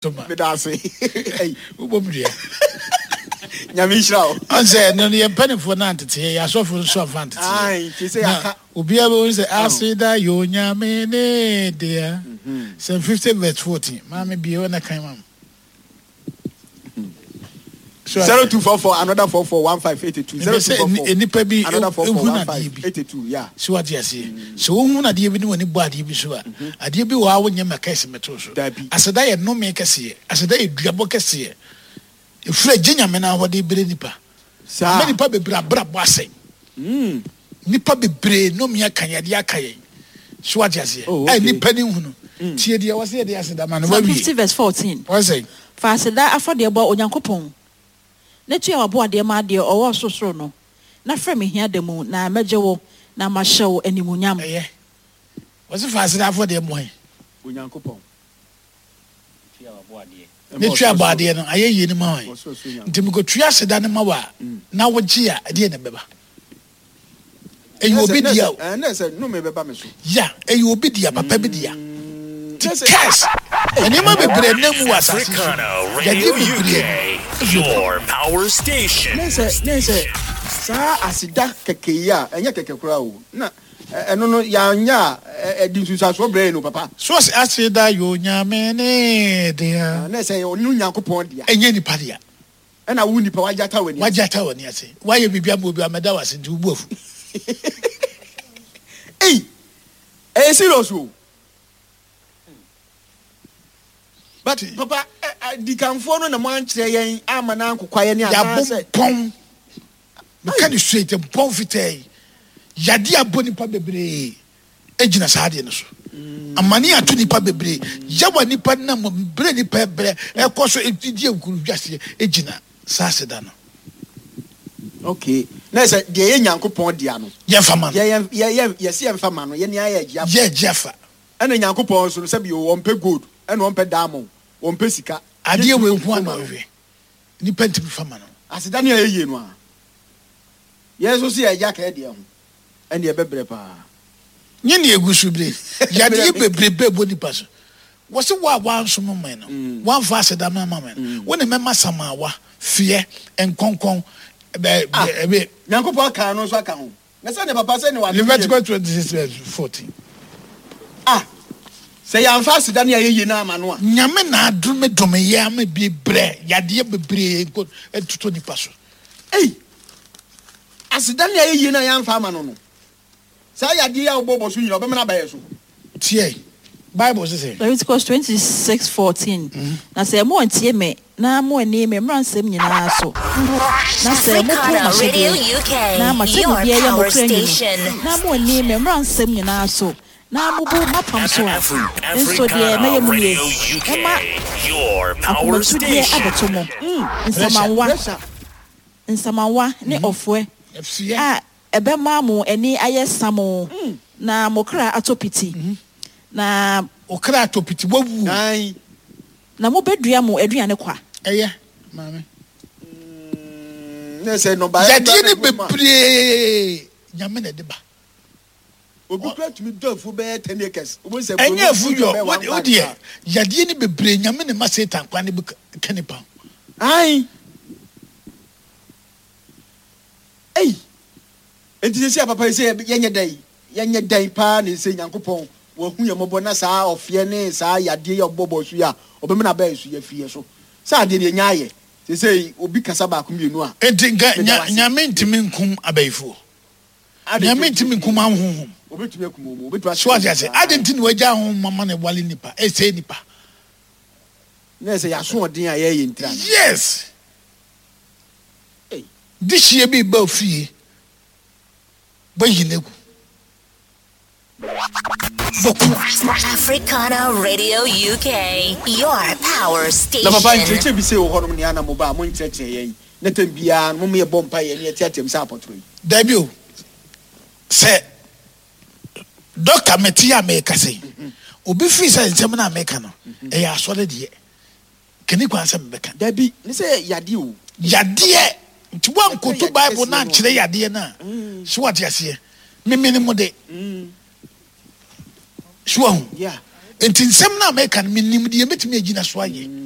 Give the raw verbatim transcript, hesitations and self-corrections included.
Toma. Meda ase. Wobɔ mu dua. Nyame nhyira wo. Ɔn sɛ ɛno no yɛn mpanimfoɔ no anteteɛ, yɛn asɔfo nso amfa anteteɛ. Ae, nti sɛ Na yɛaka. obiara bɛhu sɛ aseda yɛ Onyame ne dea. Psalm fifty verse fourteen. Maame bie hɔ na kan ma me. So Zero two four four another four four one five eight two. Zero mepɛ two sɛ four nni- four nnipa bi another four four ehunu one adeɛ five bi. eight two. Yeah. So wate aseɛ. Sɛ wohunu adeɛ bi ne w'ani bɔ adeɛ bi so a, adeɛ bi wɔ hɔ a wonyɛ ma kɛse mɛto so. Dabi. Aseda yɛ nnome kɛseɛ. Aseda yɛ duabɔ kɛseɛ. Ɛfiri agye Nyame no ahɔde berɛ nipa. Saa. Ama nipa bebree abrabɔ asɛe. Nipa bebree nnome aka yɛn, adeɛ aka yɛn. So wate aseɛ. Oh, A okay. nipa ne nhunu. Tie deɛ wɔ sɛ yɛde aseda ma no Psalm wawie. fifty verse fourteen. Wɔn sɛ Fa aseda afɔdeɛ bɔ Onyankopɔn, na tua w'aboadeɛ ma deɛ ɔwɔ ɔsorosoro no, na frɛ me hia da mu, na mɛgye wo, na mahyɛ wo animuonyam. Ɛyɛ. Wɔsi fa aseda afɔdeɛ mmɔ hɛn. Onyankopɔn. Ne tua abɔ adeɛ no ayɛ yie no ma hɔn. Ɔsorosoro Nti mekɔtua aseda no ma wo a, na wogye a, ɛdeɛ na ɛbɛba. Ɛyɛ obi dea o. Ɛnɛ sɛ nnome bɛba me so. Ya, ɛyɛ obi dea, papa bi dea. Nti curse, nneɛma bebree nam mu wɔ asase so. Africana Yadeɛ Radio bebree U K, your power station. Ne sɛ ne sɛ saa aseda kɛkɛ yi a ɛnyɛ kɛkɛ koraa o, na ɛ- ɛno no yɛanyɛ a ɛ- ɛde nsunsuansoɔ brɛ yɛn no, papa. So ɔsɛ aseda yɛ Onyame ne dea. Na sɛ ɔno Nyankopɔn dea. Ɛnyɛ nipa dea. Ɛna wo nipa wagye ata w'ani ase. Wagye ata w'ani ase. Wayɛ biribi ama obi amɛda w'ase nti wobu afu. Ei, ɛyɛ serious o. But papa, ɛ- ɛ, dikanfoɔ no na mo ankyerɛ yɛn ama no ankokwa yɛn ne Yɛabɔ anaasɛ mpɔn. Meka ne straight, mpɔn fitaa yi. Yadeɛ abɔ nipa bebree egyina saa adeɛ no so. Amane ato nipa bebree. Yawa nipa nam brɛ nipa brɛ ɛkɔ so edi nkuruhwaseɛ egyina saa aseda no. Okay, na sɛ deɛ yɛ Nyankopɔn dea no, Yɛmfa ma no. yɛ yɛ yɛ yɛsi yɛmfa ma no, yɛne ayɛ agye afa. Yɛ agye afa. Ɛna Nyankopɔn nso no, sɛbi o, wɔmpɛ gold ɛna wɔmpɛ diamond, wɔmpɛ sika. Adeɛ Yɛntumi wei nko mfa ana ma no. ɔhwehwɛ. Nipa ntumi fa ma no. Aseda ne ayɛ yie no a, yɛn nso so yɛagye aka yɛ deɛ ho, ɛne ɛbɛbrɛ paa. Nye ne egu so bere. Yadeɛ bebrebe bɔ nipa so. Wɔsi wo a wansom me no, wanfa aseda ma ma me no, wo ne mɛma samawa, feɛ, nkɔnkɔn, ɛbɛ Ah. ɛbɛ Nyankopɔn aka no nso aka ho na sɛ ne papa sɛ ne wade. Leviticus twenty six verse fourteen. Ah, sɛ yɛamfa aseda ne ayɛ yie no ama no a, Nyame na adome dome yɛ ama bi brɛ yadeɛ bebree nko ɛtotɔ nipa so. Ei, aseda ne ayɛ yie no a yɛamfa ama no no, saa yadeɛ yi a wobɔbɔ so nyina ɔbɛma no aba yɛ so. Tie Bible sisɛ. Leviticus twenty-six fourteen. Na sɛ moantie me na moanni me mmaransɛm nyinaa so, na sɛ mopo Africana Radio m'ahyɛdeɛ U K, na your m'atemmudeɛ yɛ mo power kra nwunu, station. na moanni me mmaransɛm nyinaa so, na mobu m'apam so a, nso deɛ Africana mɛyɛ mo nie: Radio U K, Mɛma your power akomatudeɛ station. abɛto mo, nsamanwa, Pressure. nsamanwa ne ɔfoɛ Ɛfiɛ. a ɛbɛma mo ani ayɛ samo na mo kra atɔ piti, na Okra atɔ piti wawu. Ae. Na mobɛdua mo aduane kwa. Ɛyɛ maame. Mm, ne sɛ nnɔbaeɛ Yadeɛ ne kora na ɛgu mu a, bebree Nyame na ɛde ba. Obi kura tumi dɔ afuo bɛyɛ ten acres. Wobɛhu sɛ Ɛnyɛ buroni afu bi yɔ bɛyɛ one wo bag deɛ saa. Yadeɛ ne bebree Nyame na ma Satan kwan ne bi ka nipa ho. Ae. Ei, enti sɛ a papa yi sɛ yɛnyɛ dɛn, yɛnyɛ dɛn paa ne sɛ Nyankopɔn wahu yɛn mmɔbɔ na saa ɔfeɛ ne saa yadeɛ yi a ɔbɔbɔ so yi a ɔbɛma no abɛɛ so yɛafiri yɛ so sɛ adeɛ no yɛnya ayɛ sɛ sɛ obi kasa baako mmienu a Enti nka meda nya wo ase. Nyame ntumi nkum abayifoɔ. Ade Nyame nti ntumi nkum ahohom. Obɛtumi akum wɔn, obɛtumi So ate ase. akyerɛ Ade nti na wagya ahohom ama na ɛwale nipa, ɛsɛe nipa. Na sɛ yɛasoɔden a yɛyɛ ntira no. Yes. Ei. Dehyeɛ bi ba fie bɛyi n'egu. Bɔku. Africana Radio U K, your power Na papa, station. nkyerɛkyerɛ bi sɛ wɔ hɔnom nea na mo ba a monkyerɛkyerɛ yɛn na tam biara no moma yɛbɔ mpa yɛ ne yɛteateam sɛ apɔtorɔ yi. Dabi o, sɛ dɔkta mete a meka sɛ obi firi sɛ nsɛm no a meka no ɛyɛ asɔre deɛ kani kwan sɛ mebɛka. Dabi, ne sɛ yadeɛ o. Yadeɛ nti woankoto Yadeɛ Bible kɛseɛ no no a. ankyerɛ yadeɛ no a, so wate aseɛ, memene mu de so wahu. Yeah. Nti nsɛm no a mɛka no, menim deɛ mɛtumi agyina so ayɛ.